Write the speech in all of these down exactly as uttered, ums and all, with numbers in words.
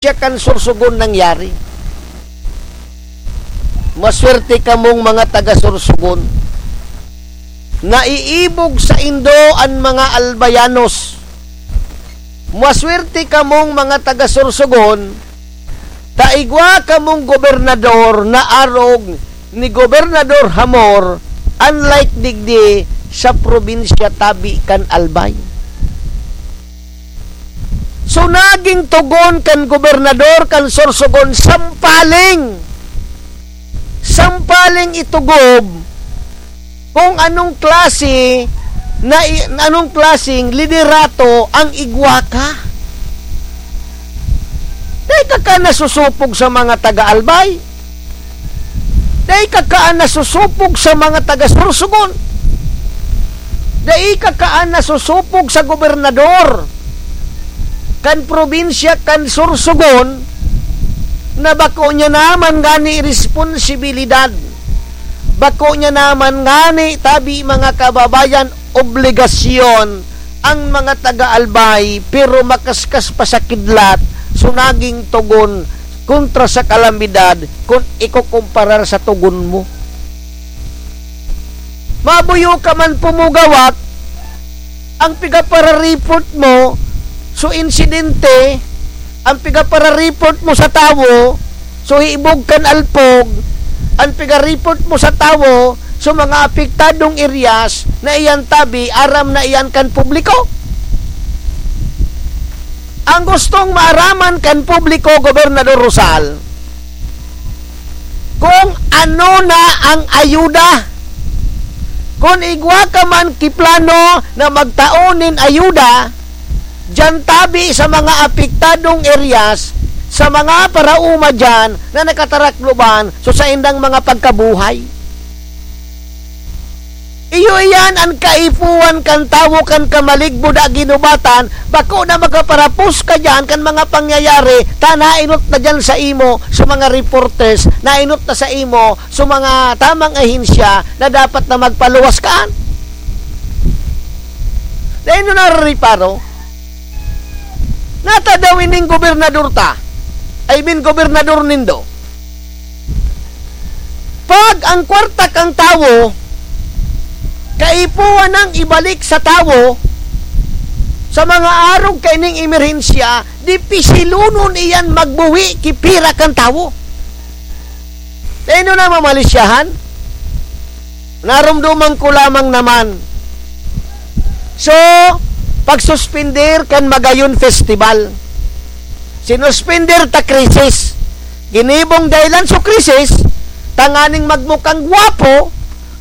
siya kan Sorsogon nangyari. Maswerte kamong mga taga Sorsogon. Naiibog saindo an mga Albayanos. Maswerte kamong mga taga Sorsogon, ta igwa kamong gobernador na arog ni Gobernador Hamor, unlike digdi sa probinsya tabi kan Albay. So, naging tugon kan gobernador kan Sorsogon, sampaling, sampaling itugob kung anong klase na i-, anong klaseng liderato ang igwa ka. Dai ka ka nasusupog sa mga taga-Albay. Dai ka kaan nasusupog sa mga taga Sorsogon. Dai ka kaan nasusupog sa gobernador kan probinsya kan Sorsogon na bako niya naman ngani responsibilidad. Bako niya naman ngani, tabi, mga kababayan, obligasyon ang mga taga-Albay, pero makaskas pa sa kidlat, so naging tugon kontra sa kalamidad kun ikukumparar sa tugon mo. Mabuyo ka man pumugawak, ang pigapararipot mo, so insidente, ang pigapararipot mo sa tawo, so hibog kan alpog, ang pigaripot mo sa tawo, so mga apektadong areas na iyan tabi, aram na iyan kan publiko. Ang gustong maaraman kan publiko, Gobernador Rosal, kung ano na ang ayuda. Kung igwa ka man ki plano na magtao nin ayuda, diyan tabi sa mga apektadong areas, sa mga paraoma diyan na nakatarakloban so saindang mga pagkabuhay. Iyo iyan an kaipuhan kan tawo kan kamalig buda ginubatan, bako na makaparapos ka diyan kan mga pangyayari, ta nainot na diyan sa imo, sa mga reporters, nainot na sa imo, sa mga tamang ahensya na dapat na magpaluwas kaan. Dai nindo narariparo? Nata daw ining gobernador ta, I mean, gobernador nindo. Pag ang kwarta kang tawo, kaipuhan nang ibalik sa tawo, sa mga arog kaining emerhensya, di pisilonon iyan magbuhi ki pira kan tawo. Dai nindo na mamalisyahan? Naromdoman ko lamang naman. So, pagsuspender kan Magayon Festival. Sinuspender ta krisis. Ginibong dahilan so krisis, tanganing magmukang gwapo,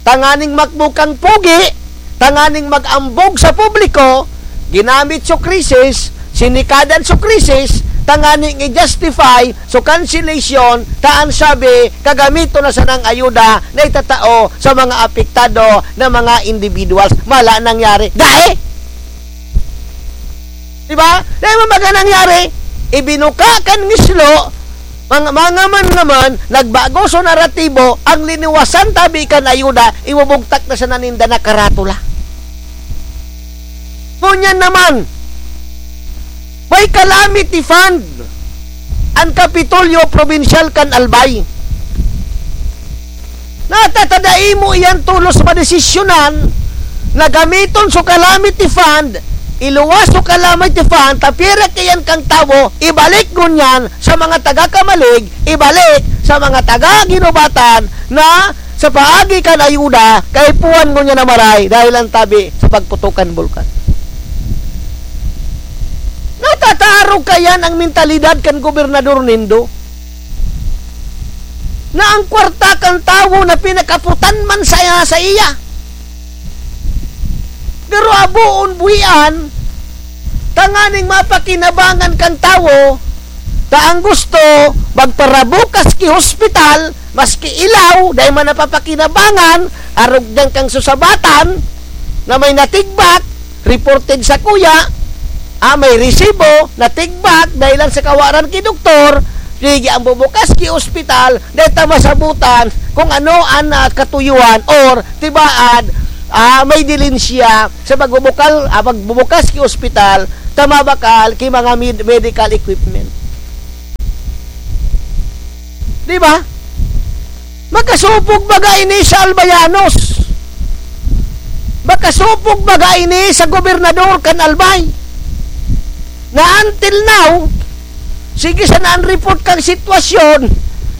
tanganing magmukang pogi, tanganing mag-ambog sa publiko, ginamit so krisis, sinikadan so krisis, tanganing i-justify so cancellation, ta an sabi, kagamiton na sanang ayuda na itatao sa mga apektado na mga individuals. Mala nangyari. Dai! Di ba? Dai man baga nangyari. Ibinuka kan ngislo, mga, mga man naman, nagbago so naratibo, ang liniwasan tabi kan ayuda, ibubugtak na sana ninda na karatula. Ngunyan naman, may calamity fund an Kapitolyo Probinsyal kan Albay. Natatadai mo iyan tolos madesisyonan na gamiton so calamity fund, iluwas so calamity fund, ta pira kaiyan kang tawo, ibalik ngunyan sa mga taga-kamalig, ibalik sa mga taga-ginubatan na sa paagi kan ayuda, kaipuhan ngunyan na maray dahil an tabi sa pagputok kan bulkan. Natatarog kaiyan ang mentalidad kan gobernador nindo, na ang kwarta kan tawo na pinakaputan man sa, sa iya. Pero aboon buhian, tanganing mapakinabangan kan tawo, ta ang gusto, magparabukas ki hospital, maski ilaw, dai man napapakinabangan, arog diyan kang susabatan, na may natigbak, reported sa kuya, ah, may resibo, natigbak, dahil lang sa kawaran ki doktor, sige, ang bubukas ki ospital, dahil ta masabutan kung ano ang, ah, katuyuan or tibaad, ah, may dilin siya sa pagbubukal, ah, pagbubukas ki ospital, ta mabakal ki mga med-, medical equipment. Di ba? Makasupog baga ini sa Albayanos? Makasupog baga ini sa gobernador kan Albay? Na until now, sige sana an report kan sitwasyon,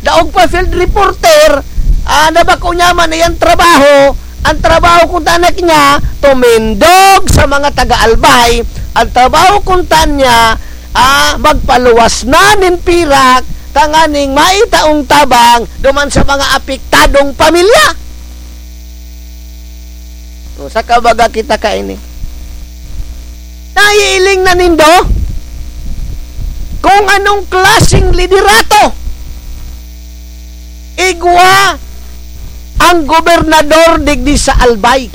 daog pa field reporter, ah, na bako niya man iyang trabaho, an trabaho kun tanak niya, tumindog sa mga taga-Albay, an trabaho kun ta niya, ah, magpaluwas na nin pirak, tanganing maitaong tabang duman sa mga apektadong pamilya. O, saka baga kita kaini. Naiiling na nindo kung anong klaseng liderato igwa ang gobernador digdi sa Albay.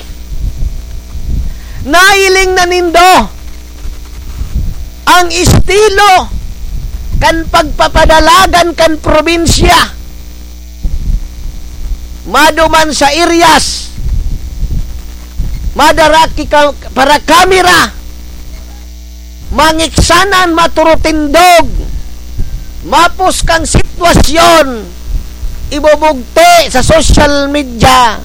Nailing na nindo ang estilo kan pagpapadalagan kan probinsya. Maduman sa areas, madara ki ka, para kamera, mangiksanan, maturutindog, mapos kang sitwasyon, ibubugti sa social media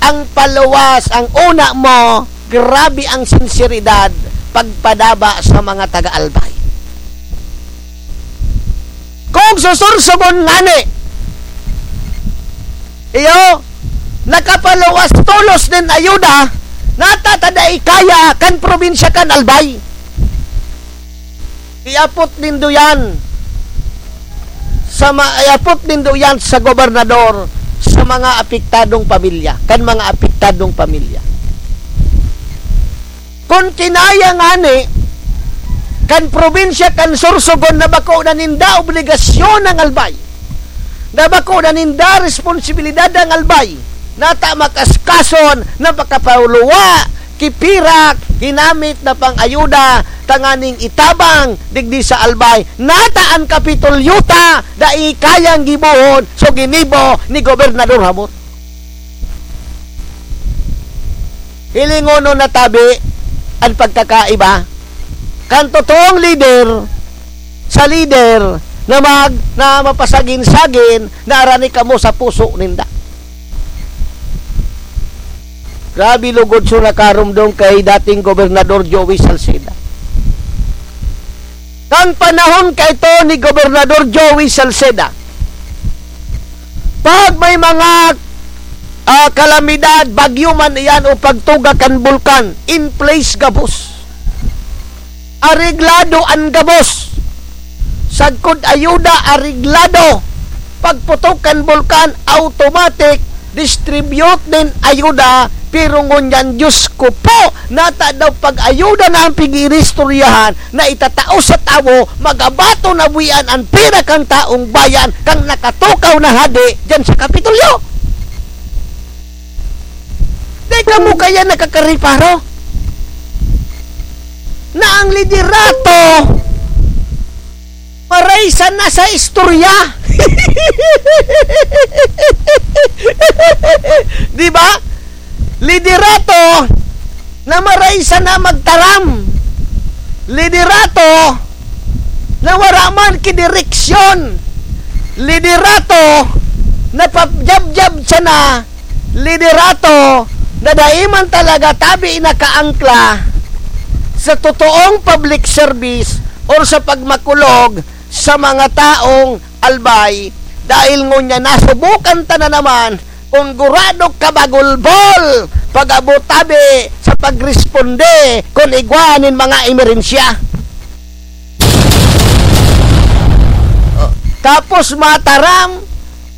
ang paluwas, ang una mo, grabe ang sinseridad pagpadaba sa mga taga-Albay. Kung susursugon ngani, iyo, nakapaluwas tolos nin ayuda, natatada ikaya kan probinsya kan Albay. Iapot nindo yan sa ma-, iapot nindo yan sa gobernador, sa mga apektadong pamilya, kan mga apektadong pamilya. Kun kinaya ngani kan probinsya kan Sorsogon na bako na ninda obligasyon ang Albay, na bako na ninda responsibilidad ang Albay, nata makaskason na pakapauluwa, kipirak, ginamit na pang-ayuda, tanganing itabang digdi sa Albay, nata an Kapitolyo ta, dai kayang gibohon, so ginibo ni Gobernador Hamor. Hilingonon na tabi an pagkakaiba kan totoong lider sa lider na mag-, na mapasagin-sagin na arani kamo sa puso ninda. Grabe lugod so nakarumdom kay dating Gobernador Joey Salceda. Kan panahon kaito ni Gobernador Joey Salceda, pag may mga, ah, kalamidad, bagyo man iyan o pagtuga kan bulkan, in place gabos. Areglado an gabos. Sagkod ayuda, areglado. Pagputok kan bulkan, automatic, distribute nin ayuda. Pero ngunyan, Diyos ko po, nata daw pag-ayuda na an pig-iristoryahan na itatao sa tawo, magabato na buwian an pira kan taong bayan, kan nakatukaw na hade diyan sa Kapitolyo. Di kamo kaya nakakareparo na ang liderato maray sana sa istorya? Di ba? Liderato na maray sana magtaram. Liderato na wara man ki direksyon. Liderato na pabyab-yab sana. Liderato na dai man talaga tabi nakaangkla sa totoong public service or sa pagmakulog sa mga taong Albay, dahil ngunyan nasubukan ta na naman kun gurado kabagulbol pag-abot tabi sa pagresponde kun igwa nin mga emerensya. Oh, tapos mataram,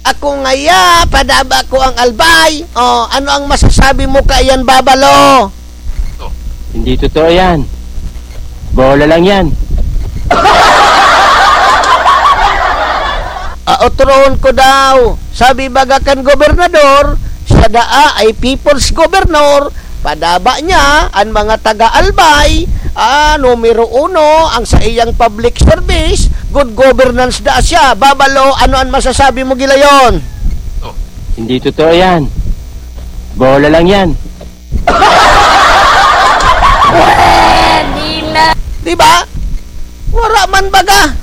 ako ngaya, padaba ko ang Albay. Oh, ano ang masasabi mo kaiyan, Babalo? Hindi totoo yan. Bola lang yan. Ah, otrohon ko daw. Sabi baga kan gobernador, siya daa ay people's governor, padaba niya an mga taga-Albay, ah, numero uno, ang saiyang public service, good governance daa siya. Babalo, ano an masasabi mo, Gilayon? Hindi totoo yan. Bola lang yan. Di ba? Wara man baga.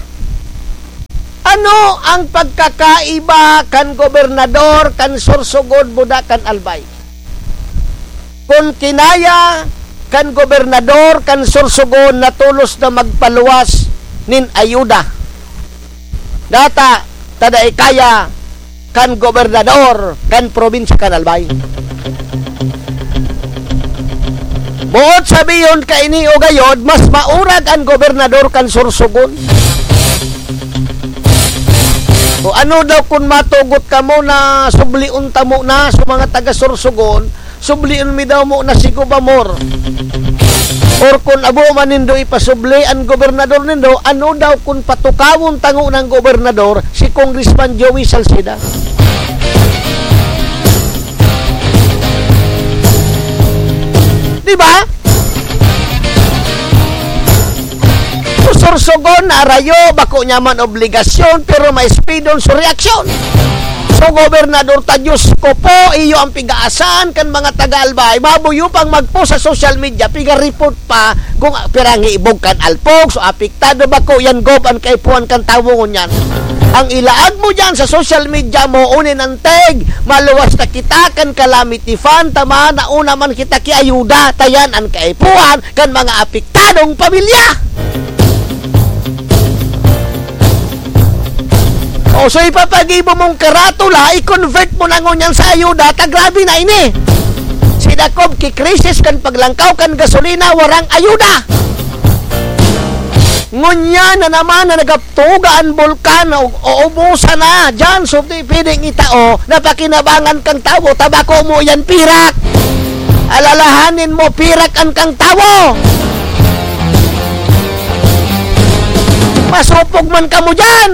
An Ano ang pagkakaiba kan gobernador kan Sorsogon buda kan Albay? Kun kinaya kan gobernador kan Sorsogon na tolos na magpaluwas nin ayuda, data ta dai kaya kan gobernador kan probinsya kan Albay. Boot sabihon kaini o gayod, mas maurag an gobernador kan Sorsogon. O ano daw kun matugot kamo na sublion ta mo na sa mga taga Sorsogon, sublion mi daw mo na si Gobamor. Or kun abo man nindo ipasubli an gobernador nindo, ano daw kun patukawon tango ng gobernador si Congressman Joey Salceda? Di ba? Susursugon na arayo, bako niya man obligasyon, pero maespidon sa reaksyon. So, Gobernador ta, Diyos ko po, iyo ang pigaasan kan mga taga-Albay. Mabuyo pang magpo sa social media, piga-report pa kung pirang ibog kan alpog. So, apektado bako yan, Gob, an kaipuhan kan tawo ngunyan. Ang ilaag mo dyan sa social media mo, unin ang tag, maluwas na kita kan calamity fund, tama, nauna man kita ki ayuda, tayan ang kaipuhan kan mga apektadong pamilya. O, so ipapagibo mong karatula, i-convert mo na ngunyan sa ayuda, ta grabe na ini. Si Dakob ki krisis kan paglangkaw kan gasolina, warang ayuda. Ngunyan na naman na nagaptuga an bulkan, o, o ubusan na. Diyan, so, di pwedeng itao na pakinabangan kang tawo, tabako mo yan, pirak. Alalahanin mo, pirak an kang tawo. Masupog man kamo diyan.